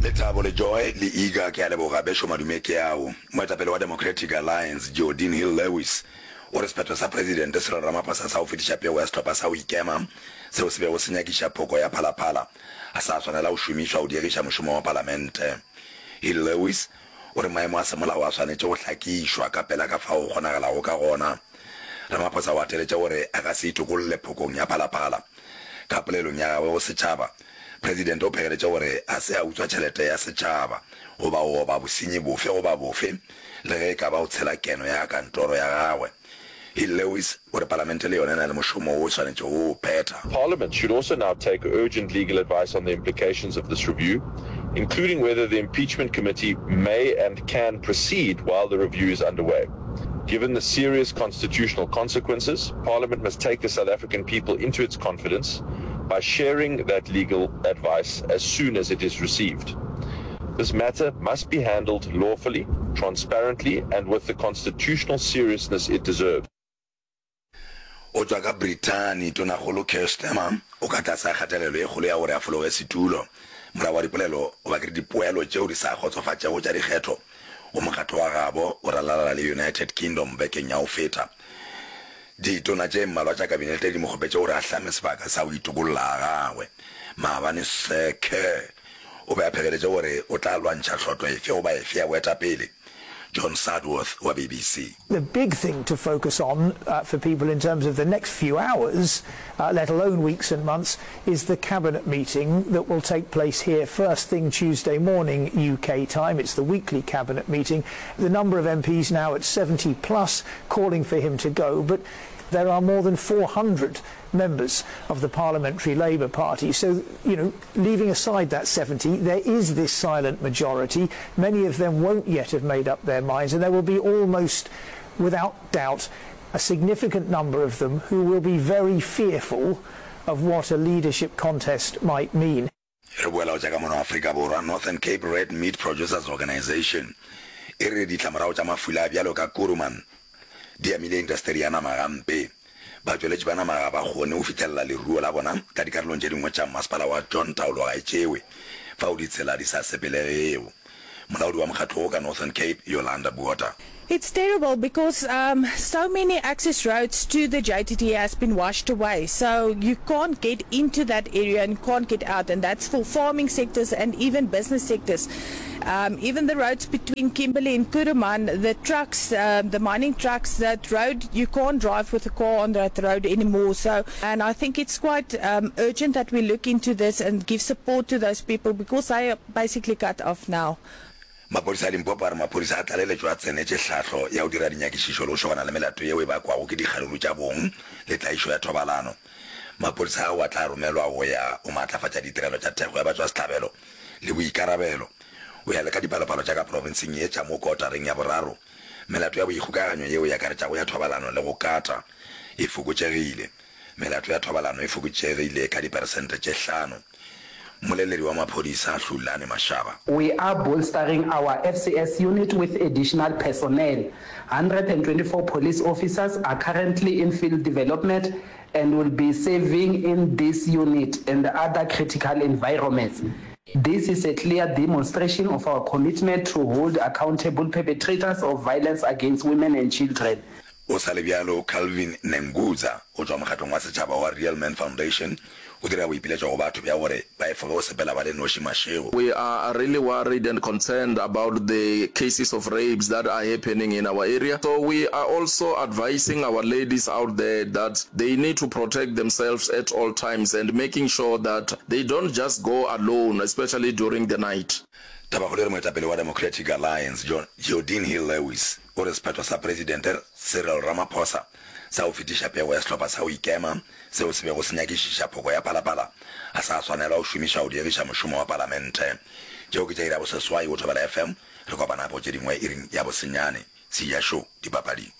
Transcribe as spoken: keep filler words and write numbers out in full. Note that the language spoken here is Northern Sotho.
Lethabo le Joy le Iga ke a leboga bešo madume ke ao. Moetapele wa Democratic Alliance Geordin Hill-Lewis o re sephetho sa Presidente Cyril Ramaphosa sa go fetiša pego ya sehlopha sa go ikema seo se bego se nyakiša phoko ya Phala Phala ga sa swanela go šomišwa go diegiša mošomo wa Palamente. Hill-Lewis o re maemo a semolao a swanetše go hlakišwa ka pela ka fao go kgonagalago ka gona. Ramaphosa o gateletše gore a ka se itokolle phokong ya Phala Phala. Ka polelong ya gagwe go setšhaba, Presidente o phegeletše gore a se a utswa tšhelete ya setšhaba goba go oba bosenyi bofe goba bofe le ge e ka ba go tshela keno ya kantoro ya gagwe. Hill-Lewis o re Palamente le yona e na le mošomo wo e swanetšego go o phetha. Parliament should also now take urgent legal advice on the implications of this review, including whether the impeachment committee may and can proceed while the review is underway. Given the serious constitutional consequences, Parliament must take the South African people into its confidence by sharing that legal advice as soon as it is received. This matter must be handled lawfully, transparently and with the constitutional seriousness it deserves. O tšwa ka Brithani, Tonakgolo Keir Starmer o ka tlase ga kgatelelo e kgolo ya gore a fologe setulo morago ga dipolelo goba ke re dipoelo tšeo di sa kgotsofatšego tša dikgetho go mokgatlo wa gabo o ralalala le United Kingdom bekeng ya go feta. Ditona tše mmalwa tša kabinete di mo kgopetše gore a hlame sebaka sa go itokolla ga gagwe. Maabane Sir Keir o be a phegeletše gore o tla lwantšha hlotlo efe goba efe ya boetapele. John Sudworth wa B B C. The big thing to focus on uh, for people in terms of the next few hours, uh, let alone weeks and months, is the cabinet meeting that will take place here first thing Tuesday morning U K time. It's the weekly cabinet meeting. The number of M Ps now at seventy plus calling for him to go, but there are more than four hundred members of the Parliamentary Labour Party. So, you know, leaving aside that seventy, there is this silent majority. Many of them won't yet have made up their minds, and there will be almost, without doubt, a significant number of them who will be very fearful of what a leadership contest might mean. Re boela go tša ka mono Afrika Borwa. Northern Cape Red Meat Producers Organisation e re ditlamorago tša mafula a bjalo ka Kuruman di amile indasteri ya nama gampe. Batšweletši ba nama ga ba kgone go fihlelela leruo la bona ka dikarolong tše dingwe tša Masepala wa John Taolo Gaetšewe fao ditsela di sa sepelegego. Molaodi wa mokgatlo wo ka Northern Cape, Yolanda Botha. It's terrible because um, so many access roads to the J T T has been washed away. So you can't get into that area and can't get out. And that's for farming sectors and even business sectors. Um, even the roads between Kimberley and Kuruman, the trucks, um, the mining trucks, that road, you can't drive with a car on that road anymore. So, and I think it's quite um, urgent that we look into this and give support to those people because they are basically cut off now. Maphodisa a Limpopo a re maphodisa a tlaleletšo a tsenetše hlahlo ya go dira dinyakišišo le go šogana le melato yeo e bakwago ke dikgaruru tša bong le tlaišo ya thobalano. Maphodisa ao a tla romelwa go ya go maatlafatša ditirelo tša thekgo ya batšwasehlabelo le boikarabelo. Go ya le ka dipalopalo tša ka profenseng ye tša mo kotareng ya boraro, melato ya boikgokaganyo yeo e akaretšago ya thobalano le go kata e fokotšegile. Melato ya thobalano e fokotšegile ka diperesente tše hlano. Mmoleledi wa maphodisa Hlulani Mashaba. We are bolstering our F C S unit with additional personnel. one hundred twenty-four police officers are currently in field development and will be serving in this unit and other critical environments. This is a clear demonstration of our commitment to hold accountable perpetrators of violence against women and children. O sa le bjalo, Calvin Nengudza go tšwa mokgatlong wa setšhaba wa Real Men Foundation o dira boipiletšo go batho bja gore ba efoge go sepela ba le noši mašego. We are really worried and concerned about the cases of rapes that are happening in our area. So we are also advising our ladies out there that they need to protect themselves at all times and making sure that they don't just go alone, especially during the night. Tabakgolo e re moetapele wa Democratic Alliance John Geordin Hill-Lewis o re sephetho sa Presidente Cyril Ramaphosa sa go fetiša pego ya sehlopha sa go ikema seo se bego se nyakišiša phoko ya Phala Phala ga sa swanelwa go šomišwa go diegiša mošomo wa Palamente. Tšeo ke tša iri ya boseswai go Thobela F M. Re kopana gape go tše dingwe iring ya bosenyane. Seja Show, dipapading.